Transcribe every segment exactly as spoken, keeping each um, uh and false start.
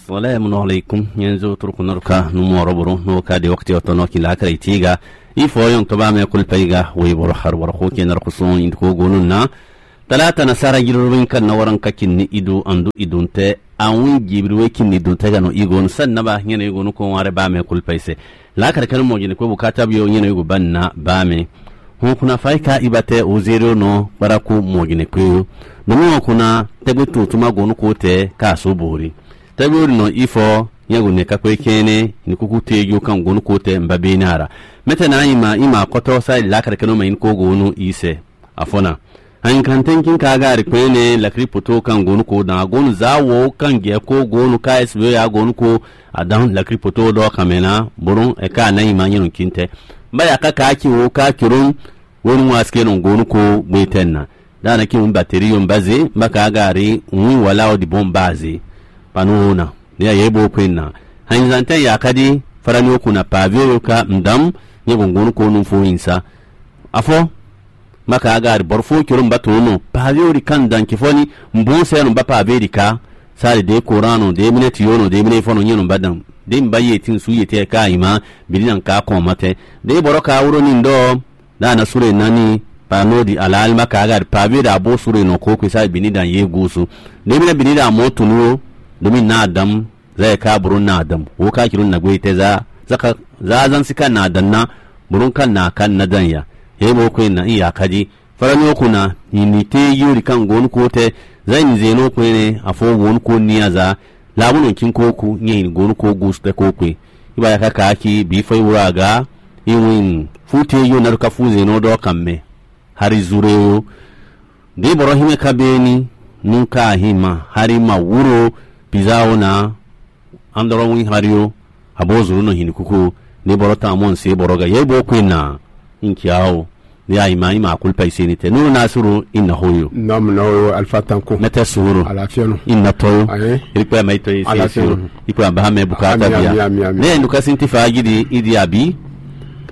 Salamu alaikum. Yanzu turku narka numu oroboro no ka de wakati otono kila kare tiga. Ifo yon toba me kulpa iga we boro har boro ko ke narko son in ko gonu na. Talata na sara girorobin kan na waran kakin ni idu andu idunte. Awun jibiri we kin ni dunte gano igon san naba nyene igonu ko ware ba me kulpa ise. La kare kanu mo jini ko bukata biyo nyene igu ban na ba me. Hun kuna faika ibate uzirio no baraku mo jini kweyo. Domin kuna tegbe tuntuma gonu ko te ka so bori. Tɛ́gbɛ́ ɔ́ ɖi nɔ ifɔ nyɛ́ gu nɛ̌ kákpé kɛ́nɛ́ ní kúkú téjú kan gǒnú kó tɛ nbabéná ra. Mɛ́tɛ́ ná nyí ma í ma kɔ́tɔ́ sá yi lǎkàrɛ kɛ́nɛ́ mɛ nyí kó gǒnú yi sɛ. Afɔ́ ná. Anyinkan tɛ́nkin ka gáari kpɛ́n nɛ́ lakrí poto kan gǒnú kó dán agǒnú zǎ wǒ kan gɛ̌ kó gǒnú ká ɛ́sibí ya gǒnú kó adán lakrí poto ɖɔ kan mɛ ná bónú ɛ̀ká ná nyí ma nyɛ́ nɔ kín tɛ́. Mbá ya ká ká cí wǒ ká coró wónú wá sikɛ́ nɔ gǒnú kó gbé tɛ́ ná. Dá na kí wun bateri yɔn ba zé, ba ka aga ri wun wala o di bɔn ba zé. Panu o na. Ni a ye bo kwe na. Hanyi zan tɛ ya ka di fara ni o kuna pa vi o ka ndam, nye gongon ko nu fo insa. Afɔ, ba ka aga ri bɔr fo kiro mba to no. Pa vi o di kan dan ki fɔ ni, mbon sɛ no ba pa vi di ka. Sa de koran no, de minɛ ti yo no, de minɛ fɔ no nye no ba dan. De mba ye tin su ye tɛ ka ima, bili nan ka kɔn ma tɛ. De bɔrɔ ka wuro ni ndɔ. Dá na súre nani, pa nɔ di alálima ka aga pa vi ɖa bó súre nɔ kó kwesa bini dan yé gusu. Ɖémi lɛ bini ɖa mɔ tunu ó, ɖómi ná adam, zá yɛ ka bro ná adam. Wo ka kiro na gbe tɛ zá, zá ka zá zan si ka na adam na, bro ka na ka na dan ya. He bo kwe na iya ka ji. Fara ni o kuna, ni ni te yori kan gon ko tɛ, zá ni zeno kwe ne, afo won ko ni aza. Labu nɔ kin ko ku, nyɛ in gonu ko gus tɛ ko kwe. Iba ya ka ka ki, bi fɔ iwura aga, iwin fu te yo naɖo ka fu zɛn nɔ ɖɔ kan mɛ. Hari zure o. De bɔrɔ himɛ ka beni, nu ka hima, hari ma wuro, pizza o na, andɔrɔ win hari o, abo zuru nɔ hini kuku. De bɔrɔ ta mɔ nse bɔrɔ ga, yɛ bo kwe na, in kia o. Ni a yi ma yi ma kulpa iseni tɛ. Nuru Nasiru, inna hoyo. Nam na o Alfa Tanko. Mete suhuru. Alafiya no. Inna toyo. Aye. Irikpa ma ito isi Alafiya no. Ikpa ba me bukata Ami, bia. Ami, ami, ami. Ne nduka sinti fagidi idi abi.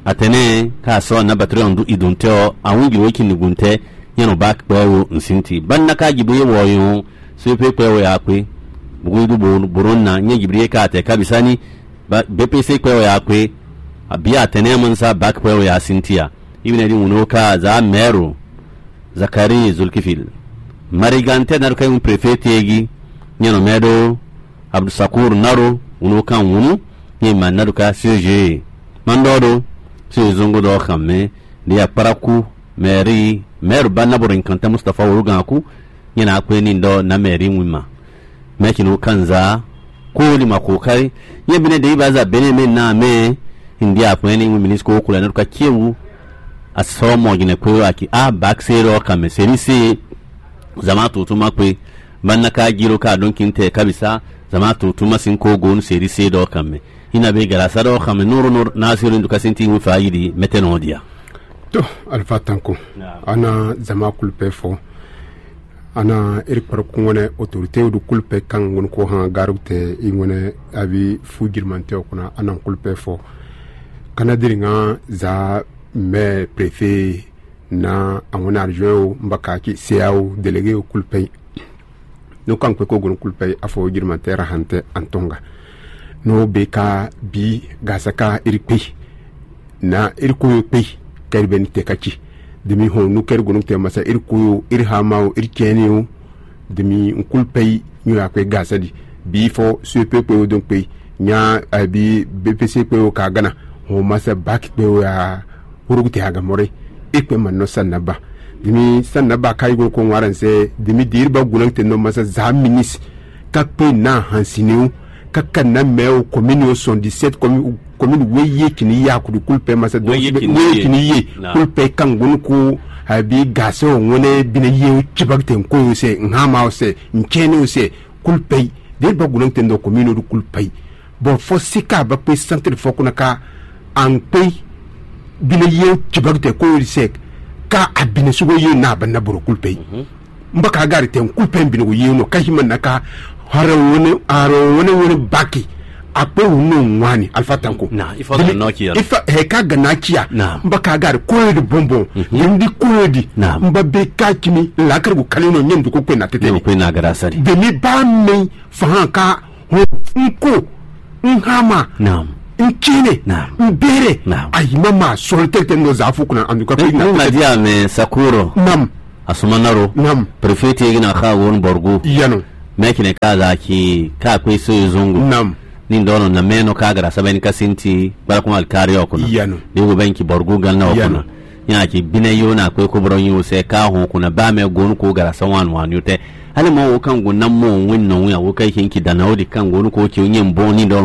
Atene ka so na batri ondu idunte o. Awun giro ki nugunte. Nyɛ no bak pe o nsinti. Banna ka gibu ye wo yon. Sepe pe o ya kwe. Bugu du bo boronna nyɛ gibri ka te kabisani. Ba B P C kpɛ wɛ a kwe, abi atɛnɛ mansa bak kpɛ wɛ a sintia. Ibn edi ŋun ka za mɛro Zakari Zulkifil. Marigante naruka un prefet egi, nyɛnɔ mɛdo Abdusakur naro ŋun kan ŋun, nyɛ ma naruka C G. Mandɔdo C G zongo dɔ xamɛ, de akparaku mɛri mɛro ba naboro nkanta Mustafa Woroganku, nyɛ na kwe ni dɔ na mɛri ŋun ma. Mɛ kinu kanza ko ni ma ko kai. Ye bine de ibaza bene me na me. Indi akwen ni ministre ko kula no ka kiewu. Asɔ mo gine ko aki a bakse ro ka me seri se. Zama to tuma kwe. Banna ka giro ka don kinte kabisa. Zama to tuma sin ko gon seri se do ka me. Ina be gara sa do ka me nuru nur na seri ndu ka sinti mu fa yidi mete no dia. To, Alfa Tanko. Ana zama kulpe fo. Ana eri kpɔrɔ kungwɛnɛ autorité o ɖo kulu pɛ kan ŋun ko han garu tɛ i ŋwɛnɛ abi fu jirimantɛ o kuna ana kulu pɛ fɔ. Kana diri ŋa za mɛ préfet na awon argent o mbaka ki C A o délégué o kulu pɛ. No kan kpe ko gun kulu pɛ afɔ jirimantɛ ra hantɛ antonga. No be ka bi gasa ka eri kpe. Na eri koyo kpe kɛri bɛ ni tɛ ka ci. Demi hɔn nu kɛri gonu tɛ masa eri koyo eri hama o eri cɛni o. Demi nkulu pɛ yi nyo akwe gasa di. Bi fɔ so pe pe o don pe nya abi B P C pe o ka gana. Hɔn masa baki pe o ya horogu tɛ aga mɔre. E kpe ma nɔ sa naba. Demi sa naba ka yi gonu ko ŋwara nsɛ demi diri ba gona tɛ nɔ masa za minis. Ka kpe na hansini o. Kaka na mɛ o commune o sɔn dix-sept commune, commune weye kini ya kudu kulu pɛ masa donc weye kini ye kulu pɛ kangunu ko abi gase o ŋwene bine ye o cibagite nko o se nhama o se ncene o se kulu pɛ de ba gulon tendo commune o kulu pɛ. Bon fo sika ba pe centre fo kuna ka an pe bine ye o cibagite ko o se ka abine sugo ye na ba na boro kulu pɛ. Mbaka gari tɛ nkú pɛ mbini wo yenu ka hima naka hare wone hare wone wone baki akpe wunu ŋwani alfa tanko. Na ifa ga nɔ kia. Ifa he ka gana kia. Na mbaka gari koyo di bonbon. Ndi koyo di. Na mba be ka kimi lakari ko kali no nyem duko kwe na tete. Nyem kwe na gara sari. Demi ba me fahan ka N ko, n hama, Naam. N kine, Naam. N bere, Naam. Ayi mama sɔlɔ tɛtɛ nɔ zafu kuna anduka pe na. N ma di ame Sakuro. Nam. Asuma naro. Nam. Prefet yi na xa won borgo. Yano. Mɛ kine ka za ki ka kwe so zongo. Nam. Ni dɔnɔ na mɛ nɔ ka gara sabɛn ka sinti barakuma alkari okuna. Yano. Ni wo bɛn ki borgo ganna okuna. Yano. Nya ki bine yo na kwe ko bro nyu se ka hon kuna ba mɛ gonu ko gara sawan wan yo te. Ale mo wo kan go na mo wen no ya wo ka ki ki dana o di kan gonu ko ki nyen bon ni dɔ